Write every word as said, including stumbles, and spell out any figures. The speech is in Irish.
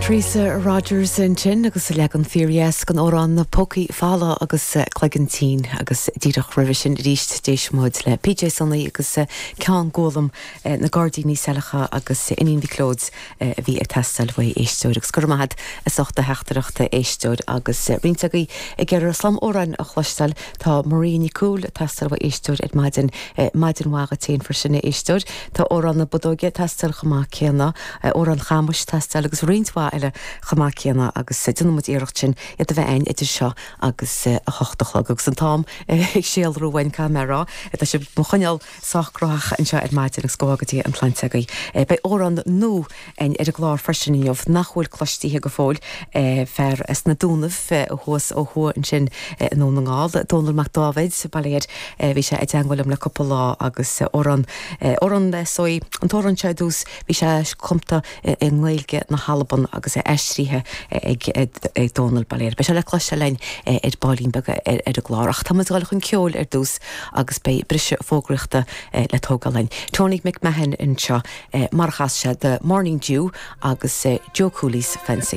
Teresa Rogers ansin agus leagan fíordheas den amhrán na Pócaí Folamha agus Cloigeann Tinn agus díreach roimhe sin arís d'éist muid le PJ Sonaí agus ceann Gólam na Gairdíní Saileacha agus Iníon Mhic Leoid a bhí ag teastáil uaidh éisteoir agus go raibh maith agat as ucht do theachtaireacht éisteoir agus roinnt agaibh ag iarraidh slám amhráin a chloisteáil tá Marie Nicole teastáil uaidh éisteoir ar maidin maidin mhaith duit freisin éisteoir Tá amhrán na Bodóige teastáil chomh maith céanna amhrán Chamuis teastáil agus roinnt mhaith eile chomh maith céanna agus déanfaidh muid iarracht sin iad a bheith ann idir seo agus a hocht a chlog agus an t-am ag síolrú uainn camera Tá sé mo choinneáil sách gnóthach anseo ar maidin agus go dtí an tsláinte agaibh. Beidh amhrán nua ar an gclár freisin inniu nach bhfuil cloiste go fóill fear as na Dúnaibh thuas ó thuaidh ansin i nDún na nGall, Dónal Mac Dáibhéid baile bhí sé i dteagmháil liom le cúpla lá agus amhrán amhrán sóí an t-amhrán seo dús bhí sé cumtha i nGaeilge na hAlban agus é aistrithe ag ag Dónal Baléir. Beidh sé le cloisteáil againn ar baillín beag ar ar an gclár ach tá muid ag dul chun ceoil ar dtús agus beidh briseadh fógraíochta le tógáil againn. Tony McMahon anseo mar a chas sé The Morning Dew agus Joe Cooley's Fancy.